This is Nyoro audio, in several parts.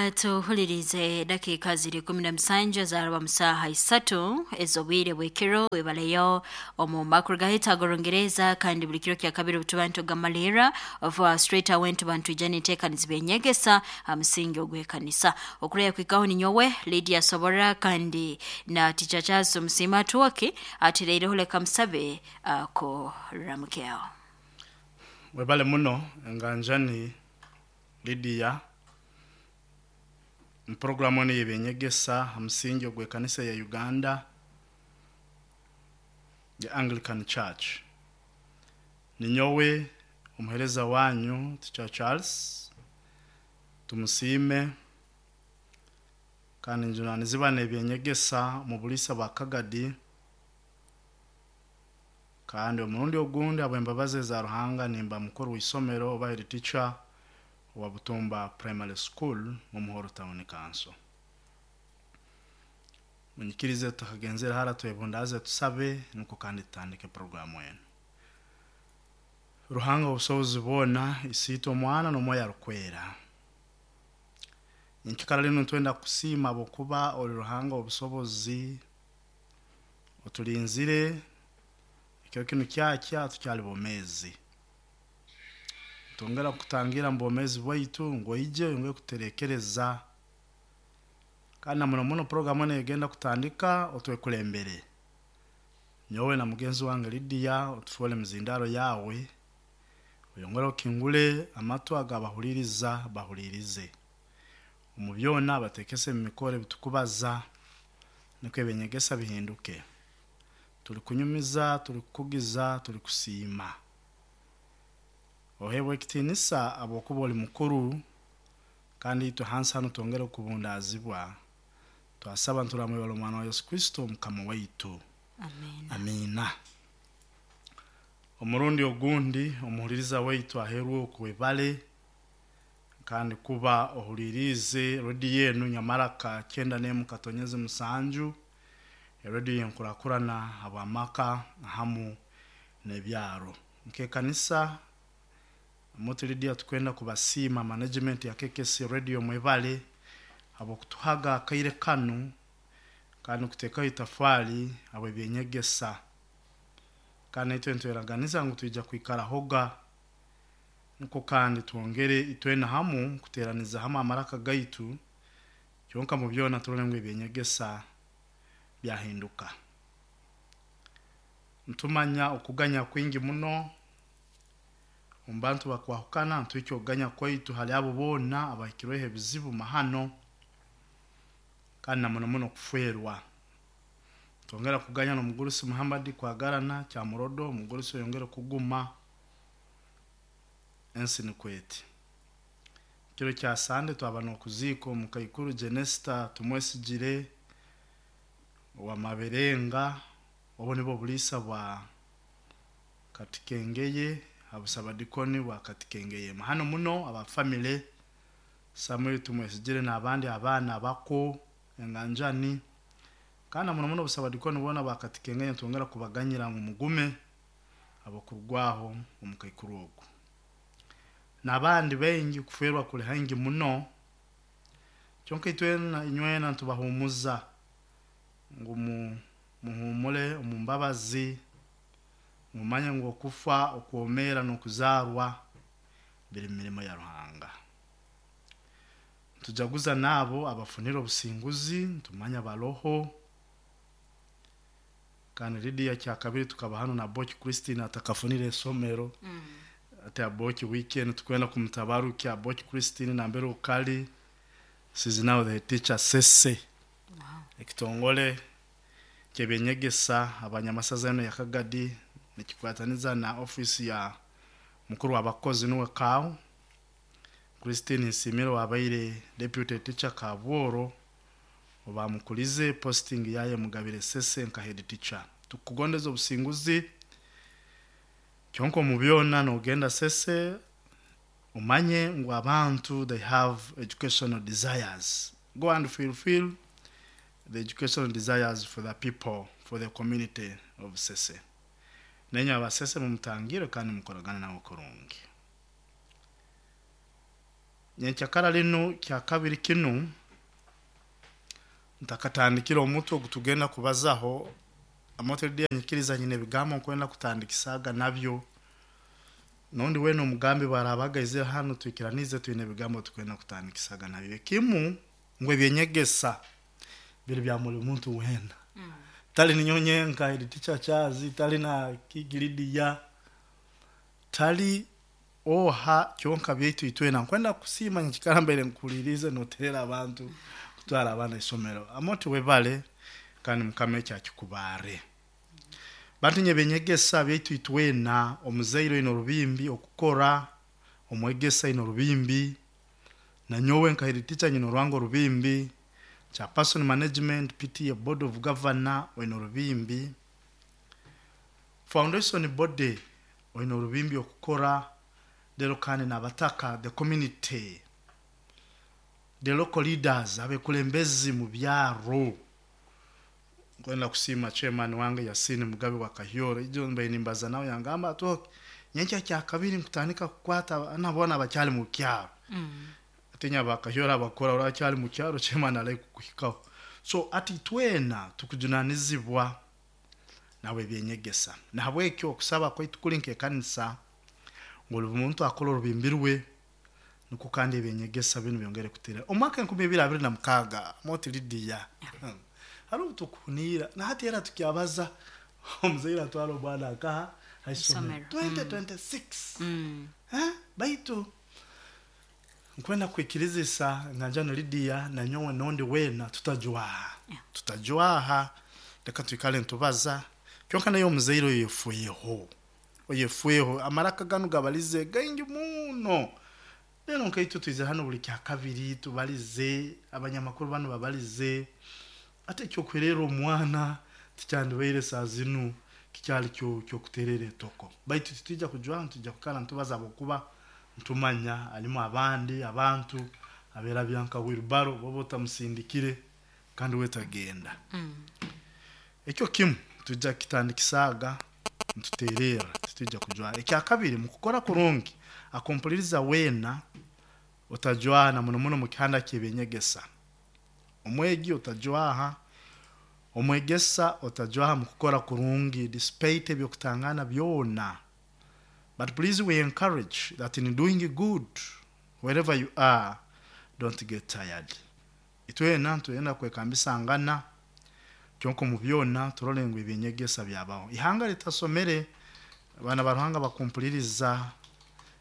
Atuhulirize dakiika ziri 17 zaaraba mu saaha 3 ez'obwire bw'ekiro. Webaleyo omu makuru gahita ag'Orungereza, kandi buli kiro kya kabiri obutuba nitugamalirra of straight away nituba nitwija n'enteekaniza byenyegesa ha musingi ogw'ekanisa. Okureya kwikaho ninyowe Lydia Sobora kandi na Teacher Charles Omusiima Atwoki atireireho. Leka musabe akuramukyeho. Webale muno, enganjani Lydia. Mu enu y'ebyenyegesa ha musingi ogw'ekanisa ya Uganda the Anglican Church. Ninyowe omuheereza wanyu Teacher Charles Tumusiime, kandi njunanizibwa n'ebyenyegesa mu buliisa bwa Kagadi, kandi omurundi ogundi habw'embabazi eza Ruhanga nimba mukuru w'isomero oba head teacher wa Butumba Primary School mu Muhoro Town Council. Munyikirize tutakagenzere hara twebundaaze, tusabe, nukwo kandi tutandike programu enu. Ruhanga obusobozi bwona, Isiitwe, Omwana n'Omwoyo Arukwera, nyenkikara linu nitwenda kukusiima habwokuba oli Ruhanga obusobozi, otulinzire ekiro kinu kyakya tukyali bomeezi. Twongera kukutangira mu bwomeezi bwaitu ngu oije oyongere kututerekereza, kandi na muno muno programu enu egenda kutandika otwekulembere. Nyowe na mugenzi wange Lydia otufoole mizindaro yawe, oyongere okingule amatu ag'abahuliriza bahulirize. Omu byona bateekese mu mikoro ebitukubaza, nukwo ebyenyegesa bihinduke. Tuli kunyumiza, tuli kukugiza, tuli kusiima. Oheebwe ekitiinisa habwokuba oli mukuru, kandi itwe hansi hanu twongere kubundaazibwa. Twasaba nituramwibara Omwana wa Yesu Kristo Mukama waitu. Amiina. Amiina. Omurundi ogundi omuhuliriza waitu aheerwe okwebale kandi kuba ohuliriize rediyo enu Nyamaraka 91.7, erediyo y'enkurakurana habw'amaka hamu n'ebyaro. Nk'ekanisa muti Lydia tukwenda kubasiima management ya KKC Radio, mwebale habw'okutuhaga akaire kanu kandi kuteekaho itafaali habw'ebyenyegesa, kandi naitwe nitweraganiza ngu twija kwikarahoga, nukwo kandi twongere itwena hamu kuteeraniza hamu amaraka gaitu, kyonka mu byona turole ngu ebyenyegesa byahinduka. Ntumanya okuganya kwingi muno omu bantu bakwahukana, ntuhikya okuganya kwaitu hali abo boona abahikirweho ebizibu mahano, kandi na muno muno kufwerwa. Twongera kuganya n'omugurusi Muhammad Kwagarana Kyamurodo, omugurusi oyongere kuguma ensi nikweti. Kiro kya Sande twaba n'okuziika omukaikuru Jenesta Tumwesigire owa Maberenga, obu nibwo buliisa bwa Katikengeye, habusabadikoni bwa Katikengeye. Mahano muno aba family Samuel Tumwesigire n'abandi abaana bako enganjani, kandi na muno muno obusabadikoni bwona bwa Katikengeye nitwongera kubaganyira ngu mugume abakurugwaho omukaikuru ogu. N'abandi baingi kufwerwa kuli haingi muno, kyonka itwena inywena nitubahumuza ngu muhumule omu mbabazi, mumanye ngu okufa, okwomeera n'okuzaarwa biri mu mirimo ya Ruhanga. Nitujaguza n'abo abafunire obusinguzi, nitumanya baroho, kandi Lydia kyakabiri tukaba hanu na Boki Christine atakafunire isomero. Ati Aboki weekend tukwenda kumutabarukya Aboki Christine nambere okali. She's now the teacher Sese. Ekitongole ky'ebyenyegesa abanyamasaza eno ya Kagadi nikikwataniza na office ya mukuru w'abakozi nuwe Kaw Christine Nsimire wabaire deputy teacher Kabworo, obamukulize posting yaye mugabire Sese nka head teacher. Tukugondeza obusinguzi, kyonka omu byona nogenda Sese omanye ngu abantu they have educational desires. Go and fulfill the educational desires for the people, for the community of Sese. Nenye abasese mumutangire kandi mukoragane nawe kurungi. Nyenkyakara linu kyakabiri kinu ntakatandikire omutwe ogutugenda kubazaho, amoto nyikiriza nyine ebigambo nkwenda kutandikisaga nabyo. Nondi wena omugambi barabaga aizire hanu twikiranize twine ebigambo tukwenda kutandikisaga nabyo. Ekimu ngu ebyenyegesa biri bya buli muntu wena. Tali ninyo nyenka eri teacher Charles, tali na Kigiridiya, tali oha kyonka byaitu itwena. Nkwenda kusiima nyikara mbaire nkuhulirize noterera abantu kutwara abaana isomero. Amoti webale kandi Mukama ekyo akikubare. Bantu nye benyegesa byaitu itwena, omuzaire oine orubimbi okukora, omwegesa oine orubimbi, na nyowe nka head teacher nyine orwange orubimbi, chairperson management, PTA board of governor oine orubimbi, foundation body oine orubimbi okukora, lero kandi n'abataka, the community, the local leaders, abekulembezi mu byaro. Nkwenda kusiima chairman wange Yasini Mugabe wa Kahyoro, ijo mbaire nimbaza nawe yangamba ati okay, nyenkya kyakabiri nkutandika kukwata nabona abakyali mu kyaro. Atinya ba Kahyoro abakora urakyali mu kyaro, chairman alai kukuhikaho. So ati twena tukujunanizibwa nawe ebyenyegesa. Nahabwekyo okusaba kwaitu kuri nk'ekanisa ngu buli muntu akore orubimbi rwe, nukwo kandi ebyenyegesa binu byongere kutera. Omwaka 2026 moti Lydia, hariho obutukuhuniira na hati era tukyabaza omuzaire atwara omwana akaha haisomero 2026. Baitu nkwenda kwikirizisa nganja na Lydia na nyowe nondi wena tutajwaha. Tutajwaha, reka twikale ntubaza. Kyonka nayo omuzaire oyefueho. Oyefueho amaraka ganu gabalize gaingi muno. Rero nkaitu twize hano buli kyakabiri tubalize, abanyamakuru banu babalize. Ate ekyokuherera omwana tikyandibaire saa zinu kikyali kyokuterera etoko. Baitu titwija kujwaha, ntitwija kukara ntubaza habwokuba ntumanya halimu abandi abantu aberabya nka wheelbarrow boba otamusindikire kandi we tagenda. Ekyo kimu tujja kitandikisaaga ntutererra, titwija kujwaha. Ekyakabiri, mukukora kurungi akumpuliriza weena otajwaha na muno muno mu kihanda ky'ebyenyegesa. Omwegi otajwaha, omwegesa otajwaha mu kukora kurungi despite ebyokutangana byona. But please we encourage that in doing good wherever you are, don't get tired. Itwena ntwenda kwekambisangana kyonka omu byona turole ngu ebyenyegesa byabaho. Ihanga litasomere, abaana ba Ruhanga bakumpuliriza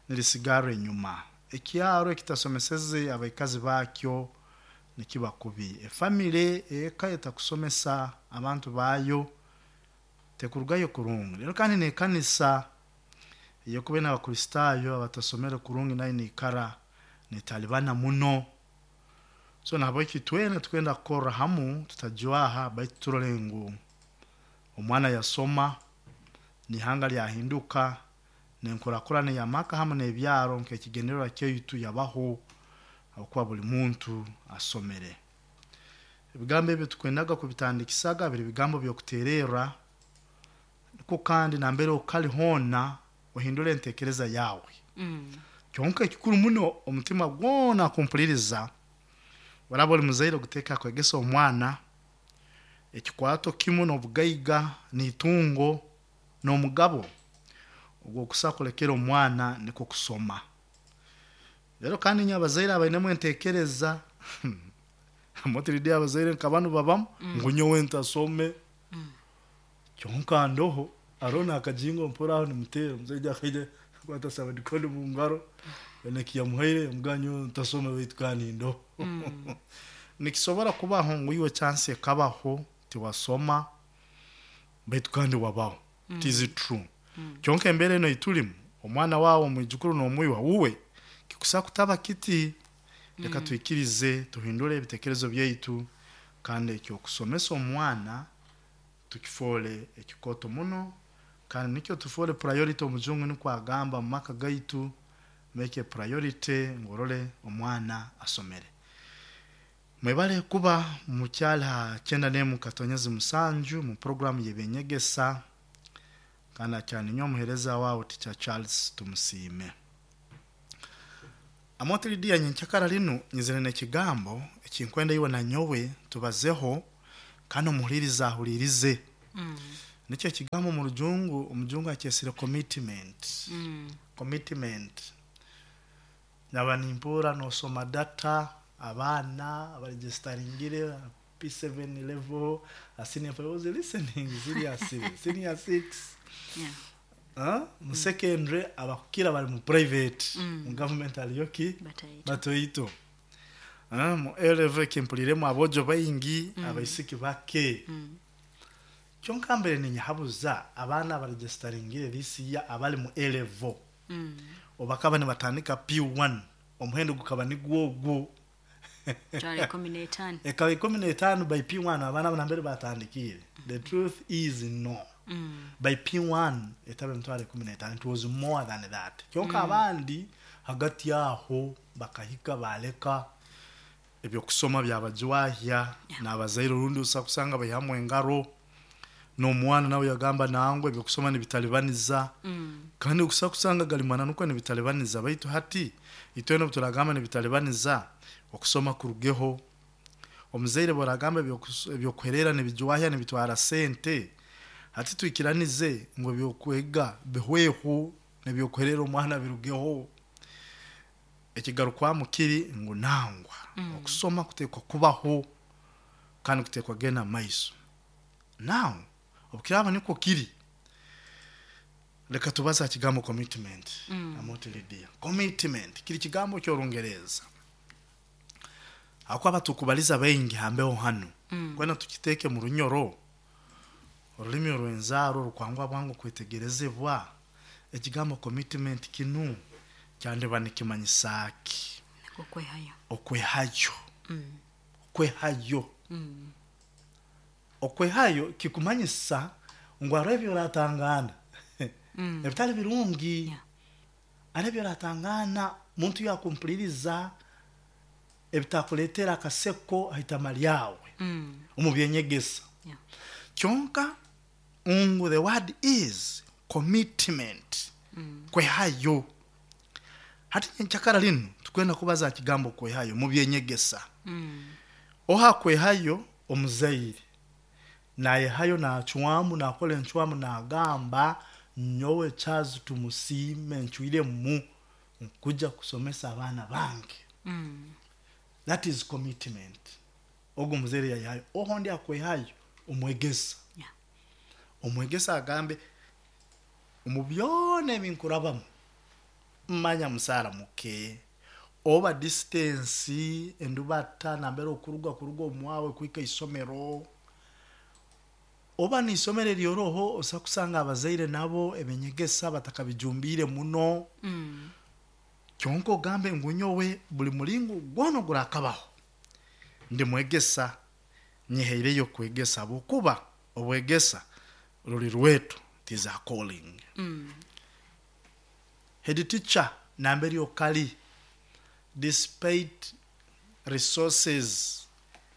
nirisigara enyuma. Ekyaro ekitasomeseze abaikazi bakyo nikiba kubi. Efamire eka etakusomesa abantu bayo tekurugayo kurungi. Rero kandi n'ekanisa eyokuba n'Abakristaayo abatasomere kurungi nayo niikara netalibana muno. So nahabweki twena tukwenda kukorra hamu tutajwaha, baitu turole ngu omwana yasoma, n'ihanga lyahinduka, n'enkurakurana y'amaka hamu n'ebyaro nk'ekigendererwa kyaitu yabaho habwokuba buli muntu asomere. Ebigambo ebyo tukwendaga kubitandikisaga biri bigambo by'okutererra, nukwo kandi nambere okali hoona ohindule entekereza yawe. Kyonka ekikuru muno omutima gwona kumpuliriza, oraba oli muzaire oguteeka kwegesa omwana, ekikwato kimu n'obugaiga n'itungo n'omugabo ogw'okusa kulekera omwana nikwo kusoma. Rero kandi inywe abazaire abainemu entekereza, motiridi abazaire nka banu babamu ngu nyowe ntasome, kyonka ndoho hariho n'akajingo mpora aho nimuteera omusaija akaija akwata sabadikoni mu ngaro nekiyamuhaire yamugamba nyowe ntasome baitu kandi ndoho. Nikisobora kubaho ngu iwe chance ekabaho tiwasoma baitu kandi wabaho. It is true. Kyonka embeera eno eitulimu omwana wawe omwijukuru n'omwiwa wuwe kikusa kutaba kiti. Reka twikirize tuhindule ebitekerezo byaitu kandi ekyokusomesa omwana tukifoole ekikoto muno kandi nikyo tufoole priority. Omujungu nikwo agamba mu maka gaitu, make a priority ngu orole omwana asomere. Mwebale kuba mukyali ha 91.7 mu programu y'ebyenyegesa kandi akyali ninyowe omuheereza wawe Teacher Charles Tumusiime. Amote Lidiya, nyenkyakara linu nyizire n'ekigambo ekinkwenda iwe na nyowe tubazeho, kandi omuhuliriza ahulirize. Nikyo ekigambo mu rujungu, omujungu akyesire commitment. Commitment. Naba nimpura nosoma data, abaana abaregistering P7 level, senior 5, I was listening seriously, senior 6. Mu secondary abakukira bali mu private, mu government aliyo ki? Batoito. Mu A level kimpuliremu abojo baingi, abaisiki bake. Kyonka mbere ninyahabuza abaana abaregistaringire this year abali mu A level. Obakaba nibatandika P1, omuhendo gukaba nigwo ogwo. 15. Ekaba 15 by P1 abaana abo nambere batandikire. The truth is no. By P1 etaba emitwaro 15, it was more than that. Kyonka abandi hagati aho bakahika baleka ebyokusoma byabajwahya, n'abazaire orundi osa kusanga baihamu engaro, n'omwana nawe yagamba nangwe ebyokusoma nibitalibaniza. Kandi okusa kusanga gali mwana nukwo nibitalibaniza, baitu hati itwena obu turagamba nibitalibaniza okusoma kurugeho. Omuzaire bworagamba ebyokuherera nibijwahya nibitwara sente, hati twikiranize ngu ebyokwega bihweho n'ebyokuherera omwana birugeho. Ekigarukwamu kiri ngu nangwa okusoma kutekwa kubaho kandi kutekwa genda maiso. Now obukiraba nikwo kiri, leka tubaze aha kigambo commitment. Amote Lidiya, commitment kiri kigambo ky'Orungereza. Ahakuba tukubaliza baingi hambeho hanu, kwenda tukiteeke mu runyoro, orulimi orw'enzaaro orukwangwa bwangu kwetegerezebwa. Ekigambo commitment kinu kyandiba nikimanyisa ki? Okwehayo. Okwehayo. Okwehayo. Okwehayo kikumanyisa ngu hariho ebi oratangana ebitali birungi, hariho ebi oratangana muntu yakumpuliriza ebitakuleetera akaseko haitama lyawe omu byenyegesa. Kyonka ngu the word is commitment, kwehayo. Hati nyenkyakara linu tukwenda kubaza aha kigambo kwehayo mu byenyegesa. Oha kwehayo? Omuzaire nayehayo, nacwamu, nakora encwamu, nagamba nyowe Charles Tumusiime ncwiremu nkuja kusomesa abaana bange. That is commitment. Ogu omuzaire yayehayo. Oho ndi akwehayo omwegesa. Omwegesa agambe omu byona ebinkurabamu manya musaara muke, oba distance endubata nambere okuruga kuruga omwawe kuhika isomero, oba n'isomero eryoroho osa kusanga abazaire nabo ebinyegesa batakabijumbiire muno. Kyonka ogambe ngu nyowe buli mulingo gwona ogurakabaho ndi mwegesa, nyehaireyo kwegesa, habwokuba obwegesa ruli rwetu, it is a calling. Head teacher nambere okali, despite resources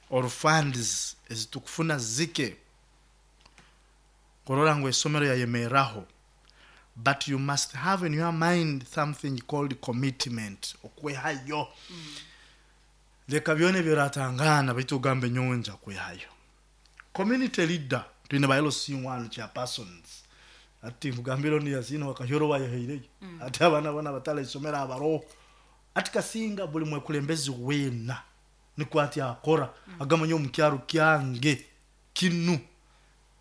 or funds ezitukufuna zike kurora ngu esomero yayemerraho, but you must have in your mind something called commitment, okwehayo. Leka byona ebyoratangana baitu ogambe nyowe nja kwehayo. Community leader, twine ba LC1 chairpersons, ati nkugambire onu Yasini wakahyola wayehaireyo, ati abaana bona abatali isomero abaroho, ati kasinga buli mwekulembezi weena nikwo ati akora, agamba nyowe omukyaro kyange kinu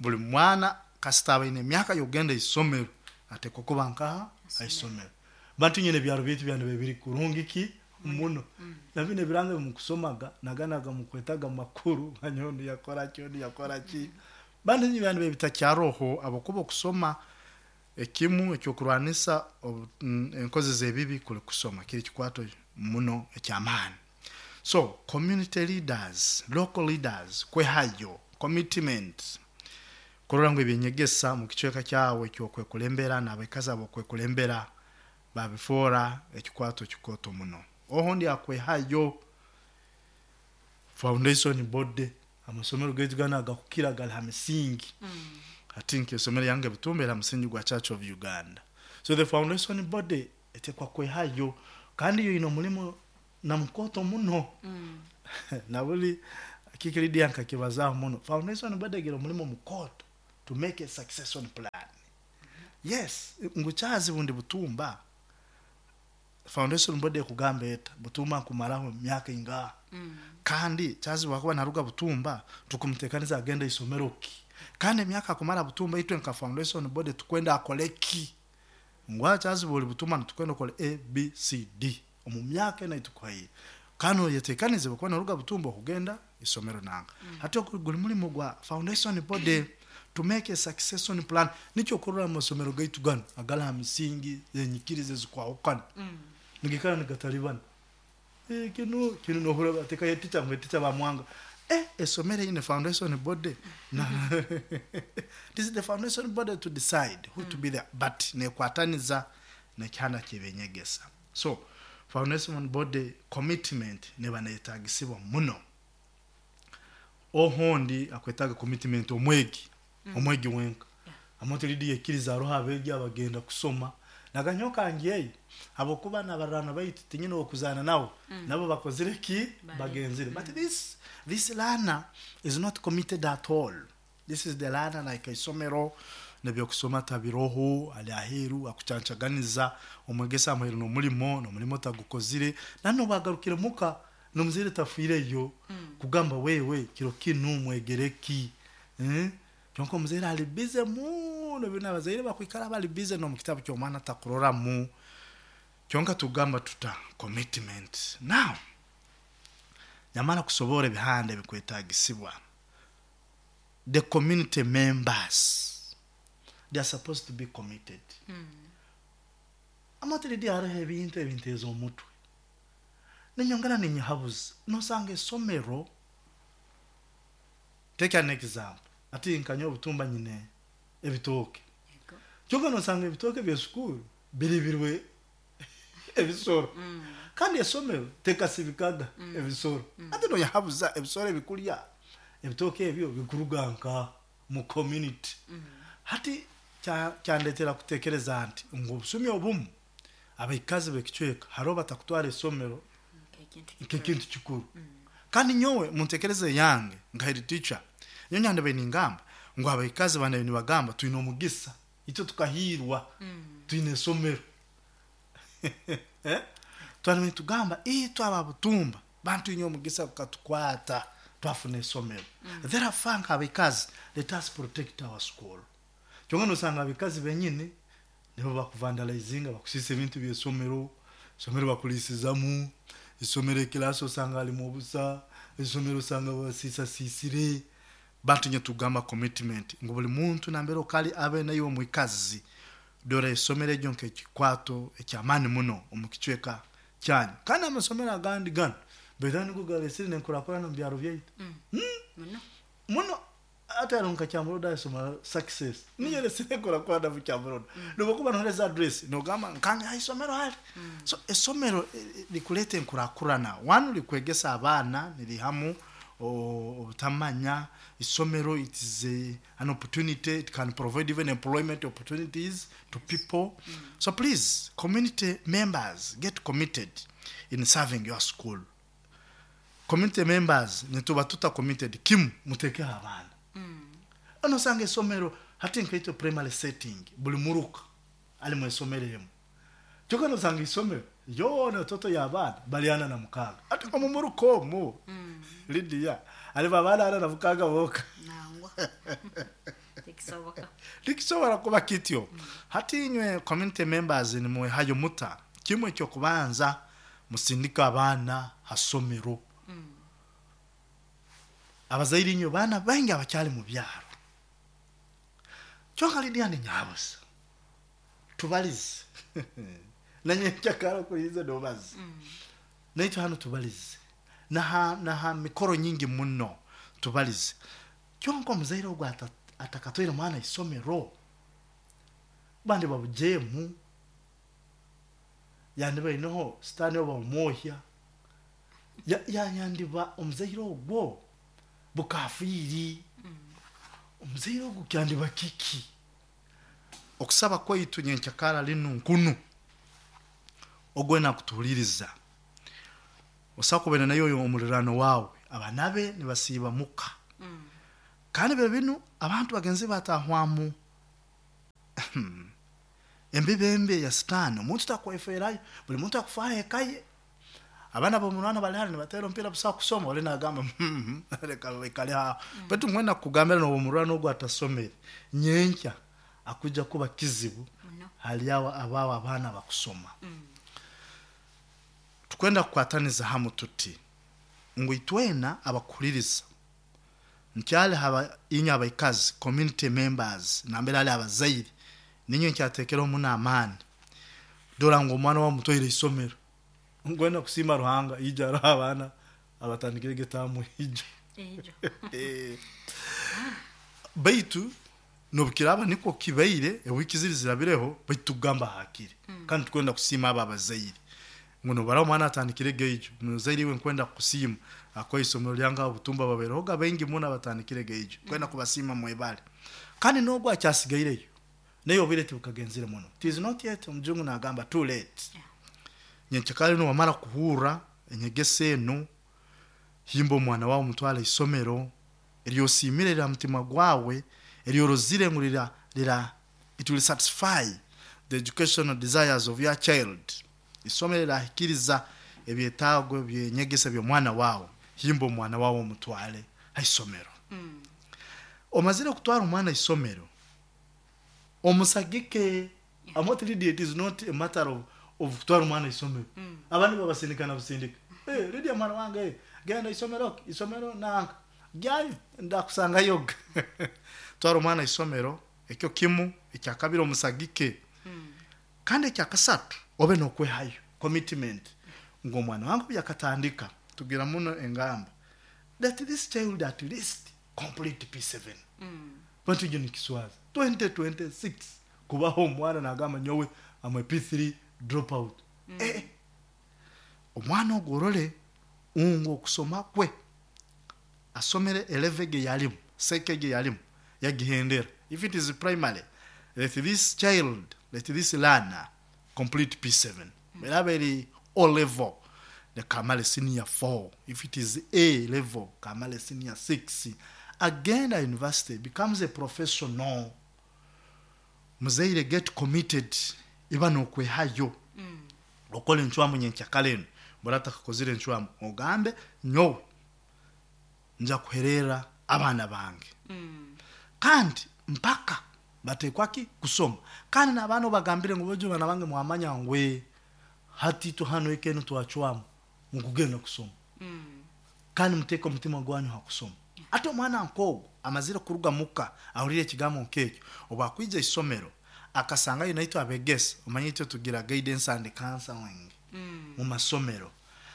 buli mwana kasita aba aine emyaka y'okugenda isomero atekwa kuba nkaha aisomero. Bantu nyine ebyaro byaitu byandiba biri kurungi ki muno. Na binu ebiranga ebimukusomaga naganaga mukwetaga makuru manya onu yakora ki, onu yakora ki. Bantu nyine byandiba bitakyaroho habwokuba okusoma ekimu ekyokurwanisa enkozi z'ebibi kuli kusoma, kiri kikwato muno eky'amaani. So community leaders, local leaders, kwehayo, commitment, kurora ngu ebyenyegesa mu kicweka kyawe eky'okwekulembera n'abaikazi ab'okwekulembera babifoora ekikwato kikooto muno. Oho ndi akwehayo foundation body, amasomero gaitu ganu agakukira gali ha misingi. Hati nk'isomero yange Butumba eri ha musingi gwa Church of Uganda. So the foundation body etekwa kwehayo. Kandi yo ino mulimo na mukoto muno. Na buli kikiridia nkakibazaho muno. Foundation body egira omulimo mukoto to make a succession plan. Yes, nguchazi bundi butumba. Foundation body ekugamba eta butumba nkumaraho myaka ingaha. Kandi chazi wakuba naruga butumba tukumutekaniza agenda isomero ki. Kandi emyaka kumara butumba itwe nka foundation body tukwenda akoleki. Ngwa chazi buli butumba tukwenda okole A B C D. Omu myaka ena itukuhaye. Kano yetekanize bakuba naruga butumba okugenda isomero nanga. Hati guli mulimo gwa foundation body to make a succession plan. Nicho kurora amasomero gaitu gano agala misingi yenyikirize zikwahukana. Nigikana nigatalibana. Kino kino nohura bateka yeticha ngweticha bamwanga. Esomere ine foundation body. Na this is the foundation body to decide who to be there, but nekwataniza nekyana kibenyegesa. So foundation body commitment neba netagisibwa muno. Ohondi akwetaga commitment omwegi. Omwegi wenka. Amoto lidi ekiriza roha abegi abagenda kusoma. Naganyoka ngiye abokuba nabarana baitu tinyine okuzana nawo. Nabo bakozire ki bagenzire. But this learner is not committed at all. This is the learner like isomero nebyo kusoma tabiroho ali aheru akucancaganiza omwegesa amuheru no mulimo tagukozire nano bagarukire muka nomuzire tafireyo kugamba wewe kiro kinu mwegereki. Kyonko muzere ali busy muno bina bazaire bakwikara bali busy no mukitabu kyo mwana takurora mu. Kyonka tugamba tuta commitment. Now nyamara kusobora ebihande bikwetagisibwa. The community members, they are supposed to be committed. Amatiridi hariho ebintu ebinteeza omutwe. Nenyongera ninyahabuza nosanga esomero. Take an example. Ati nkanyo obutumba nyine ebitoke. Kyonka nosanga ebitoke bya sukuru biribirwe ebisoro. Kandi esomero tekasibikaga ebisoro. Ati no yahabuza ebisoro ebikulya ebitoke ebyo bikuruganka mu community. Hati kyandetera kutekereza nti ngo obusumi obumu abaikazi bekichweka haro batakutwara esomero nkekintu kikuru. Kandi nyowe muntekereze yange nka head teacher nyonya ndabe ningamba ngo abaikazi bana nibagamba tuine omugisa icyo tukahirwa tuine esomero. Twani tugamba twaba butumba bantu inyo omugisa kukatukwata twafuna esomero. Therefore abaikazi let us protect our school. Kyonga nosanga abikazi benyine nibo bakuvandalizinga bakusisa ebintu by'esomero, esomero bakulisizamu, isomero ekilasi osanga alimu obusa, isomero osanga basisa sisire. Bantu nye tugamba commitment ngo buli muntu nambere okali abe nayo mwikazi dore isomero eryo nk'ekikwato ekyamani muno omukichweka kyanyu. Kandi amasomero agandi gano bedani kugalesire nenkurakurana mu byaro byaitu. Muno ate aronka Kyamuroda isoma success niyo lesire kurakurana mu Kyamuroda. Nobokuba noleza address nogamba nkange isomero hali. So esomero likulete nkurakurana wanu likwegesa abana nilihamu obutamanya. Isomero it is an opportunity, it can provide even employment opportunities to people. So please, community members, get committed in serving your school. Community members nituba tuta committed kimu muteke abana. Ano sange isomero hati nkaito primary setting buli muruka ali mu isomero hemu. Kyokka nosanga isomero yona toto y'abaana baliana na mukaga. Ati omumuruka omwo Lydia ali babaana ana na mukaga boka. Nangwa. Tikisoboka. Tikisobola kuba kityo. Hati inywe community members nimwe hayo muta kimwe kyo kubanza musindika abaana hasomero. Abazaire inywe baana bangi abakyali mu byaro. Kyokka Lydia ni nyabusa. Tubalize. Nanye kyakara kuliza dobazi. Naitwa hano tubalize. Na mikoro nyingi muno tubalize. Kyonko muzaire ogwo atakatwire mwana isomero. Bandi babujemu. Yandi bainoho stani oba omuohya. Yandiba omuzaire ogwo bukafiri. Omuzaire ogwo kyandiba kiki? Okusaba kwaitu nyenkyakara linu nkunu. Ogwena kutuhuliriza osakubene nayo oyo omulirano wawe abanabe nibasiiba muka. Kandi biro binu abantu bagenzi batahwamu embibembe ya sitaani, omuntu takweferayo, buli muntu akufaho ekaye. Abaana b'omurwana bali hali nibatera omupiira busaho kusoma, oli nagamba leka baikale aho. Baitu nkwenda kukugambira n'obu omurwana ogu atasomere, nyenkya akuja kuba kizibu hali abo abaabo abaana bakusoma. Tukwenda kukwataniza hamu tuti ngu itwena abakuhuliriza nkyali haba inywe abaikazi community members nambere hali abazaire ninywe nkyatekereho muno amaani. Dora ngu omwana wawe mutwaire isomero, nkwenda kusiima Ruhanga ija haroho abaana abatandikire getamu ijo. Baitu nobukiraaba nikwo kibaire ewiiki ziri zirabireho, baitu tukugamba hakiri. Kandi tukwenda kusiima abo abazaire ngu nobaraba omwana atandikire geijo, muzaire iwe nkwenda kukusiima akuha isomero lyange aho Butumba babairehoga baingi muno abatandikire geijo, nkwenda kubasiima mwebale. Kandi n'ogu akyasigaireyo naye obwire tibukagenzire muno, it is not yet, omujungu nagamba too late. Nyenkya inu wamara kuhurra enyegesa enu, himba omwana wawe omutwale isomero eryosiimire rira mutima gwawe, eryorozire ngu rira it will satisfy the educational desires of your child. Isomero rirahikiriza ebyetaago byenyegesa by'omwana wawe, himba omwana wawe omutwale ha isomero. Omazire kutwara omwana isomero, omusagike. I'm not ready, it is not a matter of kutwara omwana isomero. Abandi babasindika na busindika. Hey, Lydia mwana wange, hey, genda isomero, isomero nanka. Gyayo, ndakusangayo. Twara omwana isomero, ekyo kimu, ekyakabiri omusagike. Kandi ekyakasatu, obe n'okwehayo, commitment. Ngu omwana wange obu yakatandika, tugira muno engamba, that this child at least complete P7. Bantu egyo nikiswaza. 2026 kubaho omwana nagamba nyowe am a P3 dropout. Omwana ogwo orole ngu okusoma kwe asomere eleve ge yalimu, seke ge yalimu, yagihendera. If it is primary, let this child, let this learner complete P7. Eraba eri O level, leka amale senior 4. If it is A level, kamale senior 6. Agenda university, becomes a professional. Muzaire get committed, iba n'okwehayo. Okole encwamu nyenkyakara enu, bora atakakozire encwamu, ogambe nyowe nja kuherera abaana bange. Kandi mpaka batekwa ki kusoma. Kandi n'abaana obagambire ngu bojo baana bange mwamanya ngu hati itwe hano eka enu twacwamu mukugenda kusoma. Kandi muteeke omutima gwanyu ha kusoma. Ate omwana nk'ogwo amazire kuruga muka ahurire ekigambo nk'ekyo, obu akwija isomero akasangayo naitwe abegesa, omanye itwe tugira guidance and counseling mu masomero.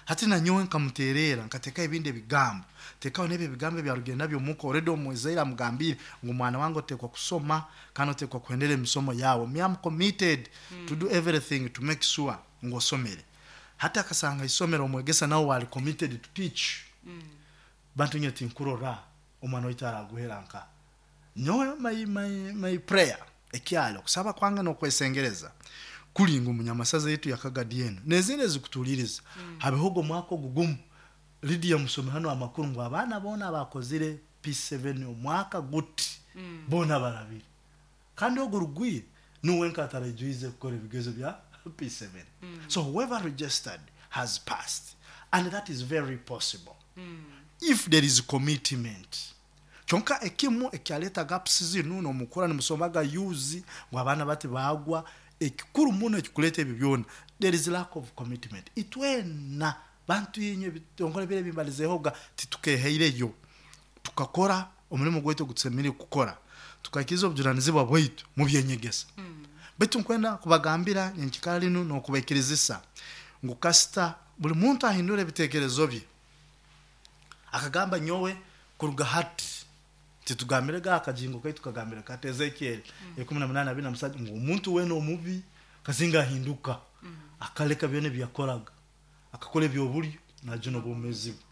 Hati nanyowe nkamuterera nkateekaho ebindi ebigambo, teekaho n'ebyo ebigambo ebyarugire nabyo muka, already omuzaire amugambire ngu mwana wange oteekwa kusoma kandi oteekwa kuhendera emisomo yawe. Me am committed to do everything to make sure ngu osomere. Hati akasanga isomero omwegesa nawe ali committed to teach. Bantu nyowe tinkurora omwana waitu araguhera nka. Nyowe my prayer ekyali okusaba kwange n'okwesengereza kuli ngu munyamasaza yetu ya Kagadi enu n'ezindi ezikutuuliriza habeho omwaka ogu gumu Lydia musome hano amakuru ngu abaana boona abakozire P7 omwaka guti boona barabire. Kandi ogu rugwire nuwe nka ataraijuize kukora ebigezo bya P7. So whoever registered has passed, and that is very possible if there is commitment. Kyonka ekimu ekyaleeta gaps zinu n'omukura nimusomaga yuzi ngu abaana bati baagwa, ekikuru muno ekikuleeta ebyo byona, there is lack of commitment. Itwena bantu inywe ebitongole biri ebimbalizeehoga titukehaireyo tukakora omurimo gwaitu ogutusemeriire kukora, tukahikiriza obujunanizibwa bwaitu mu byenyegesa. Baitu nkwenda kubagambira nyenkikara linu n'okubaikirizisa ngu kasita buli muntu ahindura ebitekerezo bye akagamba nyowe kuruga hati titugambirega akajingo kaitu kagambire kati Ezekiel 18:27 ngu omuntu weena omubi kasinga ahinduka akaleka byona ebyakoraga akakora eby'obulyo najuna obwomeezi bwe.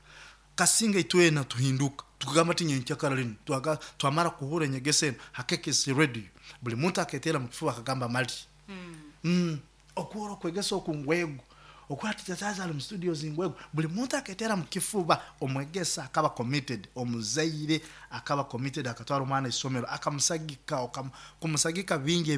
Kasinga itwena tuhinduka tukagamba ati nyenkyakara linu twamara kuhurra enyegesa enu ha KKC radio, buli muntu aketeera mu kifuba akagamba mali. Okuhurra okwegesa oku ngwego. Okuhurra Teacher Charles ali mu studios ngwego, buli muntu aketera mu kifuba. Omwegesa akaba committed, omuzaire akaba committed, akatwara omwana isomero, akamusagika, kumusagika bingi.